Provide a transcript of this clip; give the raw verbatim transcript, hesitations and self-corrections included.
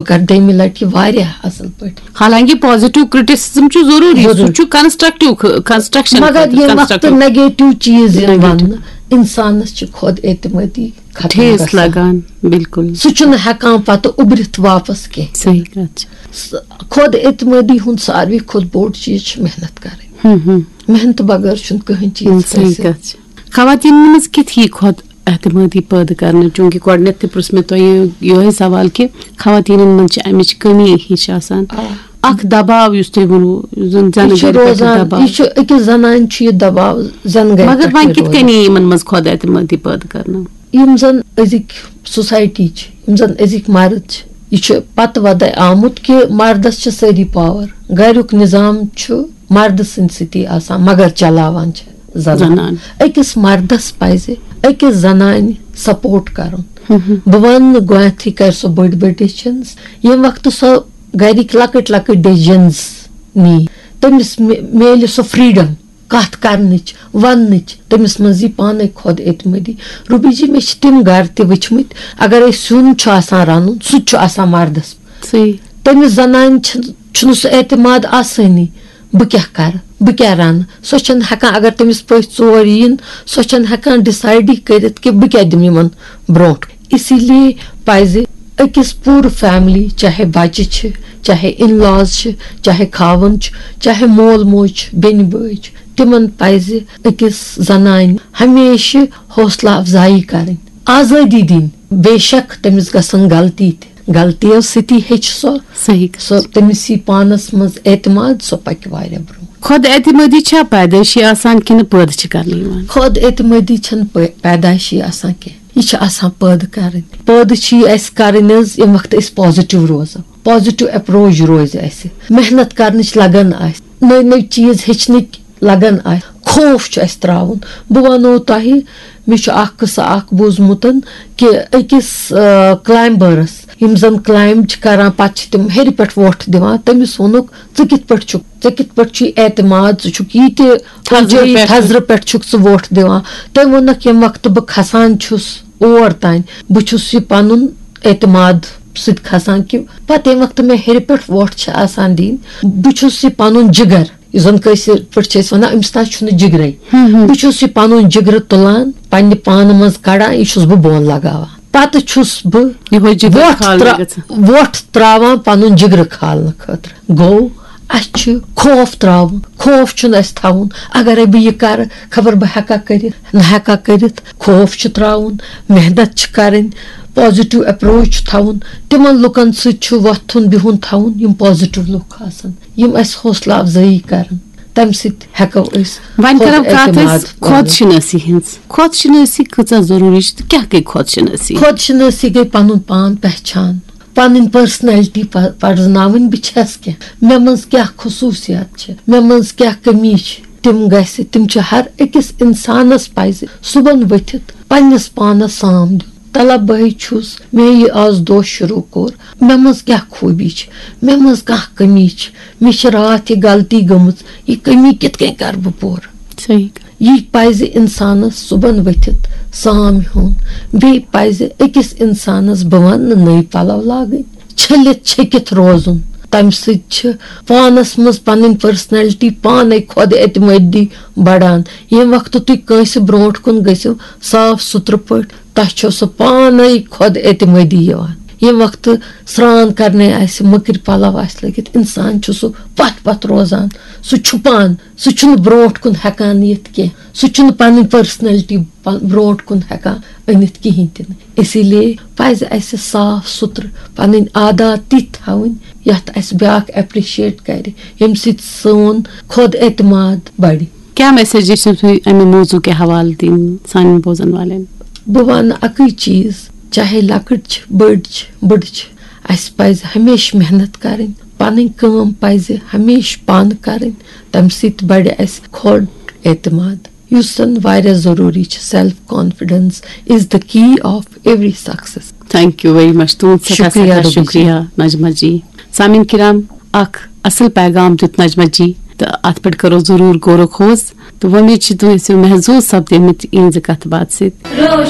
بہٕ کرٕ دوٚیمہِ لٹہِ یہِ واریاہ اصل پٲٹھۍ۔ حالانکہِ پازیٹو کرٹیسزم چھُ ضروٗری، سُہ ضروٗری۔ چھُ کنسٹرکٹیو، کنسٹرکشن مگر ییٚمہِ وقتہٕ نیگیٹو چیٖز یِن Negative۔ وننہٕ، انسانس چھِ خود اعتمٲدی ختم ٹھیس گژھان۔ لگان۔ بالکل۔ سُہ چھُنہٕ ہٮ۪کان پتہٕ اُبرِتھ واپس کینٛہہ۔ صحیح کتھ چھِ۔ س- خود اعتمٲدی ہُنٛد ساروی کھۄتہٕ بوٚڑ چیٖز چھِ محنت کرٕنۍ۔ ہم، ہم۔ محنت بغٲر چھُنہٕ کٕہٕنۍ چیٖز صحیح حٲصِل۔ کتھ چھِ۔ خواتین منٛز کِتھ یی خود اعتمٲدی پٲدٕ کرنہٕ؟ چونکہ گۄڈٕنیتھ تہِ پرُژھ مےٚ تۄہہِ یِہوٚے سوال کہِ خواتیٖنن منٛز چھِ امِچ کٔمی ہِش آسان۔ آ۔ اکھ دباو یُس تۄہہِ ووٚنوُ، زن زنہٕ یہِ چھُ گرِ پٮ۪ٹھ روزان، دباو۔ یہِ چھُ أکِس زنانہِ چھُ یہِ دباو زنہٕ گرِ مگر پٮ۪ٹھ وۄنۍ یہِ کِتھ روزان۔ کٔنۍ یی یِمن منٛز خود اعتمٲدی پٲدٕ کرنہٕ؟ یِم زن أزِکۍ سوسایٹی چھِ، یِم زن أزِکۍ مرد چھِ، یہِ چھُ پتہٕ ودے آمُت کہِ مردس چھِ سٲری پاور، گریُک نظام چھُ مردٕ سٕنٛدِ سۭتی آسان، مگر چلاوان چھِ زنان۔ زنان۔ أکِس مردس پزِ أکِس زنانہِ سپورٹ کرُن۔ بہٕ ونہٕ نہٕ گۄڈنیتھٕے کرِ سۄ بٔڑۍ بٔڑۍ ڈیسیجنز، ییٚمہِ وقتہٕ سۄ گرِکۍ لۄکٕٹۍ لۄکٕٹۍ ڈیسیجنز نی، تٔمِس مِ- میلہِ سۄ فریڈم کتھ کرنٕچ، وننٕچ، تٔمِس منٛز یی پانے خود اعتمٲدی۔ روبی جی، مےٚ چھِ تِم گرٕ تہِ وٕچھمٕتۍ، اگر أسۍ سیُن چھُ آسان رنُن، سُہ تہِ چھُ آسان مردس۔ صحیح۔ تٔمِس زنانہِ چھِ، چھُنہٕ سُہ اعتماد آسٲنی، بہٕ کیٛاہ کرٕ، بہٕ کیٛاہ رنہٕ۔ سۄ چھَنہٕ ہٮ۪کان، اگر تٔمِس پٔژھۍ ژور یِن، سۄ چھَنہٕ ہٮ۪کان ڈِسایڈٕے کٔرِتھ کہِ بہٕ کیٛاہ دِمہٕ یِمن برونٛٹھ۔ اسی لیے پزِ أکِس پوٗرٕ فیملی، چاہے بچہِ چھِ، چاہے ان لاز چھِ، چاہے خاوند چھُ، چاہے مول موج چھُ، بیٚنہِ بٲے چھِ، تِمن پزِ أکِس زنانہِ ہمیشہِ حوصلہٕ افزایی کرٕنۍ، آزٲدی دِنۍ۔ بے شک تٔمِس گژھن غلطی تہِ، غلطیو سۭتی ہیٚچھِ سۄ۔ صحیح۔ سۄ تٔمِس یی پانس منٛز اعتماد، سۄ پکہِ واریاہ برونٛہہ۔ خود اعتمٲدی چھا پیدٲیشی آسان کِنہٕ پٲدٕ چھِ کرنہٕ یِوان؟ خود اعتمٲدی چھنہٕ پٲ- پیدایشی آسان کینٛہہ، یہِ چھِ آسان پٲدٕ کرٕنۍ۔ پٲدٕ چھِ یہِ اسہِ کرٕنۍ حظ، ییٚمہِ وقتہٕ أسۍ پازیٹو روزو، پازیٹو اپروچ روزِ اسہِ، محنت کرنٕچ لگن آسہِ، نٔوۍ نٔوۍ چیٖز ہیٚچھنٕکۍ لگن آسہِ، خوف چھُ اسہِ تراوُن۔ بہٕ ونو تۄہہِ، مےٚ چھُ اکھ قصہٕ اکھ بوٗزمُت کہِ أکِس، آ، کلایمبرس، یِم زن کلایمب چھِ کران، پتہٕ چھِ تِم ہیٚرِ پٮ۪ٹھ وۄٹھ دِوان، تٔمِس ووٚنُکھ، "ژٕ کِتھ پٲٹھۍ چھُکھ، ژےٚ کِتھ پٲٹھۍ چھُے اعتماد، ژٕ چھُکھ یہِ تہِ تھزرٕ اونچٲیی پٮ۪ٹھ۔ تھزرٕ پٮ۪ٹھ چھُکھ ژٕ وۄٹھ دِوان؟" تٔمۍ ووٚنُکھ، "ییٚمہِ وقتہٕ بہٕ کھسان چھُس اور تام، بہٕ چھُس یہِ پنُن اعتماد سۭتۍ کھسان کہِ پتہٕ ییٚمہِ وقتہٕ مےٚ ہیٚرِ پٮ۪ٹھ وۄٹھ چھِ آسان دِنۍ، بہٕ چھُس یہِ پنُن جگر، یُس زن کٲشِر پٲٹھۍ چھِ أسۍ ونان، أمِس نہ چھُنہٕ جگرے۔ بہٕ چھُس یہِ پنُن جگرٕ تُلان، پننہِ پانہٕ منٛز کڑان، یہِ چھُس بہٕ بۄن لگاوان۔ پتہٕ چھُس بہٕ یِہوٚے جگر وۄٹھ کھالنہٕ ترا-، گژھان۔ وۄٹھ تراوان پنُن جگرٕ کھالنہٕ خٲطرٕ۔ گوٚو، اسہِ چھُ خوف تراوُن۔ خوف چھُنہٕ اسہِ تھاوُن۔ اگرے بہٕ یہِ کرٕ، خبر بہٕ ہٮ۪کا کٔرِتھ، نہ ہٮ۪کا کٔرِتھ۔ خوف چھُ تراوُن، محنت چھِ کرٕنۍ، پازیٹو اپروچ چھُ تھاوُن۔ تِمن لُکن سۭتۍ چھُ وۄتھُن بِہُن تھاوُن، یِم پازیٹو لُکھ آسن، یِم اسہِ حوصلہٕ افزٲیی کرن۔ تمہِ سۭتۍ ہٮ۪کو أسۍ وۄنۍ کرو خود کتھ اعتماد أسۍ خود شنٲسی ہٕنٛز۔ خود شنٲسی کۭژاہ ضروٗری چھِ تہٕ کیٛاہ گٔے خود شنٲسی؟ خود شنٲسی گٔے پنُن پان پہچان، پنٕنۍ پرسنلٹی پ-، پرزناوٕنۍ، بہٕ چھس کیٛاہ، مےٚ منٛز کیٛاہ خصوٗصیات چھِ، مےٚ منٛز کیٛاہ کٔمی چھِ، تِم گژھِ، تِم چھِ ہر أکِس انسانس پزِ صُبحن ؤتھِتھ پننِس پانس سام دیُن۔ طلب بہٕ چھُس، مےٚ یہِ آز دۄہ شروٗع کوٚر، مےٚ منٛز کیٛاہ خوٗبی چھِ، مےٚ منٛز کانٛہہ کٔمی چھِ، مےٚ چھِ راتھ یہِ غلطی گٔمٕژ، یہِ کٔمی کِتھ کٔنۍ کرٕ بہٕ پوٗرٕ؟ صحیح۔ یہِ پزِ انسانس صُبحن ؤتھِتھ سام ہیوٚن۔ بیٚیہِ پزِ أکِس انسانس، بہٕ ونہٕ نہٕ نٔوۍ پلو لاگٕنۍ، چھٔلِتھ چھٔکِتھ روزُن۔ تمہِ سۭتۍ چھِ پانس منٛز پنٕنۍ پرسنلٹی پانے خۄد اعتمٲدی بڑان۔ ییٚمہِ وقتہٕ تُہۍ کٲنٛسہِ برونٛٹھ کُن گٔژھِو صاف سُترٕ پٲٹھۍ، تۄہہِ چھو سُہ پانے خۄد اعتمٲدی یِوان۔ ییٚمہِ وقتہٕ سرٛان کرنے آسہِ، مٔکرۍ پلو آسہِ لٲگِتھ، انسان چھُ سُہ پتھ پتھ روزان، سُہ چھُپان، سُہ چھُنہٕ برونٛٹھ کُن ہٮ۪کان یِتھ کینٛہہ، سُہ چھُنہٕ پنٕنۍ پرسنلٹی پ-، برونٛٹھ کُن ہٮ۪کان أنِتھ کِہیٖنۍ تہِ نہٕ۔ اسی لیے پزِ اسہِ صاف سُترٕ پنٕنۍ عادات تِتھۍ تھاوٕنۍ، یتھ اسہِ بیاکھ اپریشیٹ کرِ، ییٚمہِ سۭتۍ سون خۄد اعتماد بڑِ۔ کیٛاہ میسیج چھِو تُہۍ امہِ موضوع کہِ حوالہٕ دِنۍ سانٮ۪ن بوزن والٮ۪ن؟ بہٕ ونہٕ اکٕے چیٖز، چاہے لۄکٕٹۍ چھِ، بٔڑۍ چھِ، بٕڑٕ چھِ، اسہِ پزِ ہمیشہِ محنت کرٕنۍ، پنٕنۍ کٲم پزِ ہمیشہِ پانہٕ کرٕنۍ، تمہِ سۭتۍ بڑِ اسہِ خۄد اعتماد، یُس زن واریاہ ضروٗری چھُ۔ Self confidence is the key of every success. Thank you very much. تُہُنٛد سٮ۪ٹھاہ شُکریہ، سٮ۪ٹھاہ روبی جی۔ شُکریہ، نجمہ جی۔ سامعیٖن کرام، اکھ اصل پیغام دیُت نجمہ جی، تہٕ اتھ پٮ۪ٹھ کرو ضروٗر غور و خوض، تہٕ وۄمید چھِ تُہۍ ٲسِو محظوظ سپدیمٕتۍ یِہنٛزِ کتھِ باتھِ سۭتۍ۔ روشن